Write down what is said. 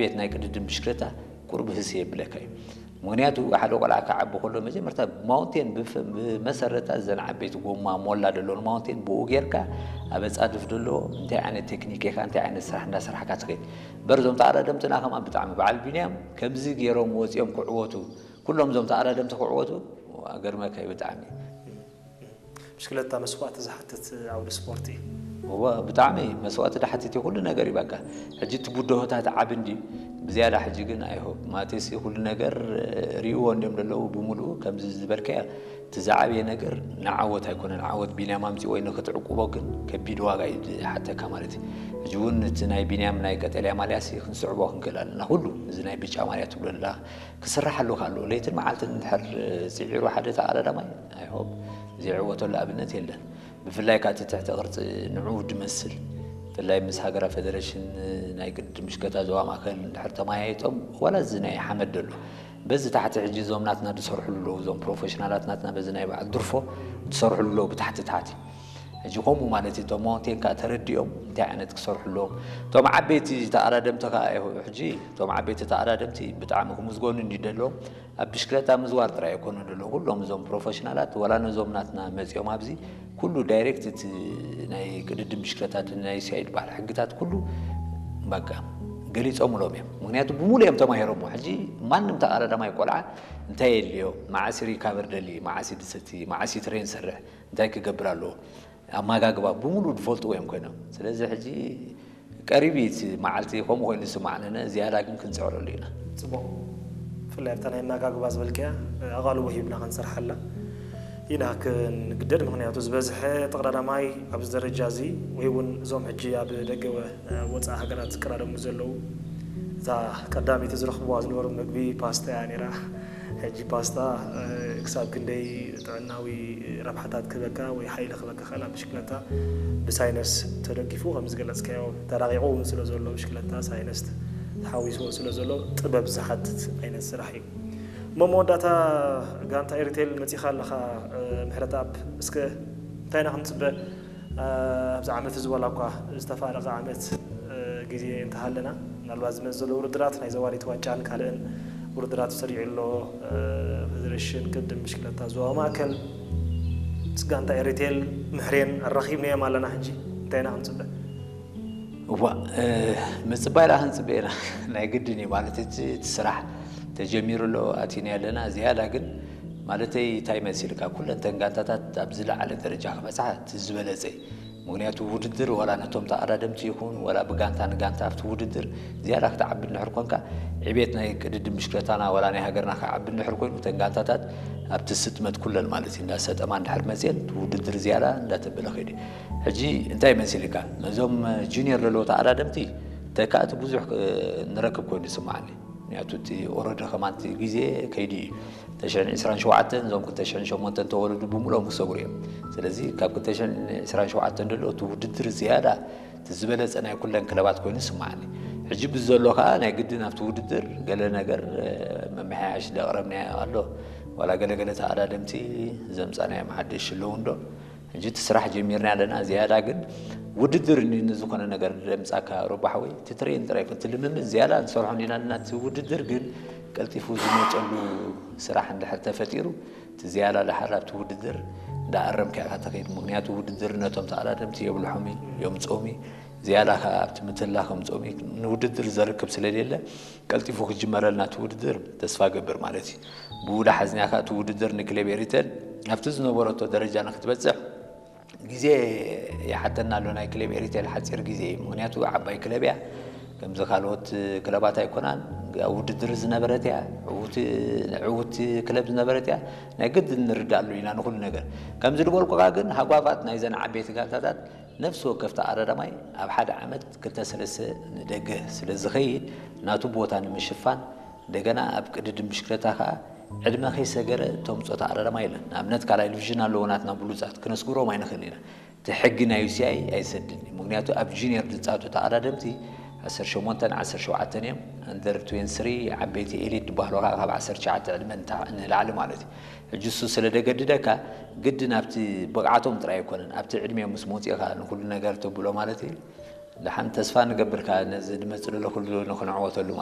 ቤት ናይ ቅድድም ብሽክለታ ቁርብ ህስ የብለካ እዩ። ምክንያቱ ሓደ ቆልዓ ክዓቢ ከሎ መጀመርታ ማውንቴን ብፍ- ብመሰረታ ዘን ዓበይቲ ጎማ ሞላ ዘለውን ማውንቴን ብኡ ጌርካ ኣብ ኣጻድፍ ዘሎ እንታይ ዓይነት ቴክኒክ ኢኻ እንታይ ዓይነት ስራሕ እንዳሰራሕካ ትኸይድ። በርዞም ተኣዳደምትና ከማ ብጣዕሚ በዓል ቢንያም ከምዚ ገይሮም ወፂኦም ክዕወቱ ኩሎም እዞም ተኣዳደምቲ ክዕወቱ ኣገርመካ እዩ ብጣዕሚ። ብሽክለታ መስዋእቲ ዝሓትት ዓውዲ ስፖርት እዩ። እወ ብጣዕሚ መስዋእቲ ድሓትት እዩ ኩሉ ነገር እዩ በቃ። ሕጂ እቲ ብድሆታት ዓብ እንዲ ብዝያዳ ሕጂ ግን ኣይሆብ ማቴሲ ኩሉ ነገር ሪእዎ እንዲም ዘለዉ ብምሉኡ ከምዚ ዝበልካያ እቲ ዝዓበየ ነገር ንዓወት ኣይኮነን። ዓወት ቢንያም ኣምፂ ወይ ንክትዕቁቦ ግን ከቢድ ዋጋ እዩ ዝሓተካ ማለት እዩ። ሕጂ እውን እቲ ናይ ቢንያም ናይ ቀጠልያ ማልያሲ ክንስዕቦ ክንክእል ኣለና። ኩሉ እዚ ናይ ብጫ ማልያ ትብሎ ኣለካ ክስራሕ ኣለካ ኣለዎ። ለይትን መዓልትን እንድሕር ፅዒሩ ሓደ ተኣዳዳማይ ኣይሆብ ዘይዕወተሉ ኣብነት የለን። ብፍላይ ካቲ ትሕቲ ቅርፂ ንዑ ድመስል ብፍላይ ምስ ሃገራ ፌደሬሽን ናይ ቅድድም ብሽክለታ ዞባ ማእከል እንድሕር ተመያይጦም ዋላ እዚ ናይ ሓመድ ደሎ በዚ ታሕቲ ሕጂ እዞም ናትና ዝሰርሕሉ ኣለዉ እዞም ፕሮፌሽናላት ናትና በዚ ናይ በዓል ድርፎ ዝሰርሕሉ ኣለዉ ብታሕቲ ታሕቲ ሕጂ ከምኡ ማለት እዩ እቶም ማውንቴን ከዓ ተረዲኦም እንታይ ዓይነት ክሰርሑ ኣለዎም እቶም ዓበይቲ ተኣዳደምቲ ከዓ ሕጂ እቶም ዓበይቲ ተኣዳደምቲ ብጣዕሚ ክምዝገኑ እንዲ ደለዎም ኣብ ብሽክለታ ምዝዋር ጥራይ ኣይኮነ ደሎ ኩሎም እዞም ፕሮፌሽናላት ወላ ነዞም ናትና መፂኦም ኣብዚ ኩሉ ዳይሬክት እቲ ናይ ቅድድም ብሽክለታት ናይ ሲኣይ ዝበሃል ሕግታት ኩሉ በቃ ገሊፆምሎም እዮም። ምክንያቱ ብምሉ እዮም ተማሂሮሞ። ሕጂ ማንም ተቃዳዳማይ ቆልዓ እንታይ የድልዮ፣ መዓስ ሪካቨር ደሊ፣ መዓስ ድሰቲ፣ መዓስ ትሬን ሰርሕ፣ እንታይ ክገብር ኣለዎ፣ ኣመጋግባ ብምሉ ዝፈልጥዎ እዮም ኮይኖም። ስለዚ ሕጂ ቀሪብ እዩ እቲ መዓልቲ ከምኡ ኮይኑ ዝስማዕነነ፣ ዝያዳ ግን ክንፅዕረሉ ኢና። ፅቡቕ። ብፍላይ ኣብታ ናይ ኣመጋግባ ዝበልክያ ኣቓልቦ ሂብና ክንሰርሓላ ኢና ክንግደድ። ምክንያቱ ዝበዝሐ ተቐዳዳማይ ኣብዚ ደረጃ እዚ ወይ እውን እዞም ሕጂ ኣብ ደገ ወፃኢ ሃገራት ዝቀዳደሙ ዘለዉ እታ ቀዳመይቲ ዝረኽብዋ ዝነበሩ ምግቢ ፓስታ እያ ነይራ። ሕጂ ፓስታ ክሳብ ክንደይ ጥዕናዊ ረብሓታት ክህበካ ወይ ሓይሊ ክህበካ ክእል ኣብ ብሽክለታ ብሳይነስ ተደጊፉ ከም ዝገለፅካዮ ተራቂቑ እውን ስለ ዘሎ ብሽክለታ ሳይነስ ተሓዊስዎ ስለ ዘሎ ጥበብ ዝሓትት ዓይነት ስራሕ እዩ። እሞ መወዳእታ ጋንታ ኤሪቴል መፂኻ ኣለኻ ምሕረተኣብ እስከ እንታይ ኢና ክንፅበ ኣብዚ ዓመት እዚ ዋላ እኳ ዝተፋረቐ ዓመት ግዜ እንተሃለና ምናልባት ዝመፅእ ዘሎ ውድድራት ናይ ዘዋሪት ዋንጫን ካልእን ውድድራት ተሰሪዑ ኣሎ። ፌደሬሽን ቅድም ብሽክለታ ዞባ ማእከል ምስ ጋንታ ኤሪቴል ምሕሬን ኣራኺብናዮም ኣለና። ሕጂ እንታይ ኢና ክንፅበ? እዋ ምፅባይ ላ ክንፅበ ኢና ናይ ግድን እዩ ማለት እቲ እቲ ስራሕ ተጀሚሩ ኣሎ ኣቲና ኣለና ዝያዳ ግን ማለተይ እንታይ መሲልካ ኩለን ተን ጋንታታት ኣብ ዝለዓለ ደረጃ ክበፅሓ እቲ ዝበለፀ እዩ። ምክንያቱ ውድድር ዋላ ነቶም ተኣዳደምቲ ይኹን ዋላ ብጋንታ ንጋንታ ኣብቲ ውድድር ዝያዳ ክትዓቢ እንድሕር ኮንካ ዕቤት ናይ ቅድድም ብሽክለታና ዋላ ናይ ሃገርና ክዓቢ እንድሕር ኮይኑ እተን ጋንታታት ኣብቲ ስጥመት ኩለን ማለት እዩ እንዳሰጠማ እንድሕር መፅየን እቲ ውድድር ዝያዳ እንዳተበለ ከይዱ ሕጂ እንታይ መሲልካ ነዞም ጁኒየር ዘለዉ ተኣዳደምቲ ተካእቲ ብዙሕ ንረክብ ኮይኑ ይስማዓኒ። ምክንያቱ እቲ ኦረዲ ከማንቲ ግዜ ከይዲ እዩ። ተሽዕን ዕስራን ሸውዓተን እዞም ክልተ ሽሕን ሸሞንተን ተወለዱ ብምሎም ክሰግሩ እዮም። ስለዚ ካብ ክልተ ሽሕን ዕስራን ሸውዓተን ደሎ እቲ ውድድር ዝያዳ እቲ ዝበለፀ ናይ ኩለን ክለባት ኮይኑ ይስማዓኒ። ሕጂ ብዘሎ ከዓ ናይ ግድን ኣብቲ ውድድር ገለ ነገር መመሓያሽ ዘቕረብናዮ ኣሎ። ዋላ ገለገለ ተኣዳደምቲ ዘምፃናዮም ሓደሽ ኣለዉ እንዶ ሕጂ እቲ ስራሕ ጀሚርና ኣለና። ዝያዳ ግን ውድድር እኒ ንዝኾነ ነገር ደምፃካ ረባሕ ወይ እቲ ትሬን ጥራይ እቲ ልምምድ ዝያዳ ንሰርሖ እንዲና ኣለና። እቲ ውድድር ግን ቀልጢፉ ዝመፀሉ ስራሕ እንድሕር ተፈጢሩ እቲ ዝያዳ ድሓር ኣብቲ ውድድር እንዳኣረምካ ኢኻ ተኸይድ። ምክንያቱ ውድድር ነቶም ተኣዳደምቲ የብልሖም እዩ፣ የምፅኦም እዩ። ዝያዳ ከዓ ኣብቲ ምትላ ከምፅኦም እዩ። ንውድድር ዘርክብ ስለሌለ ቀልጢፉ ክጅመረልና እቲ ውድድር ተስፋ ገብር ማለት እዩ። ብኡ ዳሓዝና ከዓ እቲ ውድድር ንክለብ ኤሪተል ኣብቲ ዝነበረቶ ደረጃ ንክትበፅሕ ግዜ ይሓተና ኣሎ። ናይ ክለብ ኤሪቴል ሓፂር ግዜ እዩ። ምክንያቱ ዓባይ ክለብ እያ። ከምዚ ካልኦት ክለባት ኣይኮናን። ኣብ ውድድር ዝነበረት እያ። ዕውቲ ክለብ ዝነበረት እያ። ናይ ግድን ንርዳእ ኣሎ ኢና ንኩሉ ነገር። ከምዚ ዝበልኩካ ግን ሃጓፋት ናይዘን ዓበይቲ ጋንታታት ነፍሲ ወከፍ ተኣዳዳማይ ኣብ ሓደ ዓመት ክልተ ሰለስተ ንደገ ስለ ዝኸይድ ናቱ ቦታ ንምሽፋን እንደገና ኣብ ቅድድም ብሽክለታ ከዓ ዕድመ ከይሰገረ ተምፅኦ ተኣዳዳማይ የለን። ንኣብነት ካልኣይ ዲቪዥን ኣለዎ ናትና ብሉፃት ክነስግሮም ኣይንኽእልን ኢና። እቲ ሕጊ ናይ ዩሲኣይ ኣይሰድን እዩ። ምክንያቱ ኣብ ጁኒየር ዝፃወቱ ተኣዳደምቲ ዓሰርተ ሸሞንተን ዓሰርተ ሸውዓተን እዮም። ኣንደር ትዌንቲ ስሪ ዓበይቲ ኤሊት ዝበሃሉ ከዓ ካብ ዓሰርተ ትሽዓተ ዕድመ ንላዕሊ ማለት እዩ። ሕጂ እሱ ስለ ደገድደካ ግድን ኣብቲ ብቕዓቶም ጥራይ ኣይኮነን ኣብቲ ዕድሜኦም ምስ መፅኡ ከዓ ንኩሉ ነገር ተብሎ ማለት እዩ። ደሓን ተስፋ ንገብር ከዓ ነዚ ዝመፅእ ዘሎ ኩሉ ንክንዕወተሉ ማለት እዩ።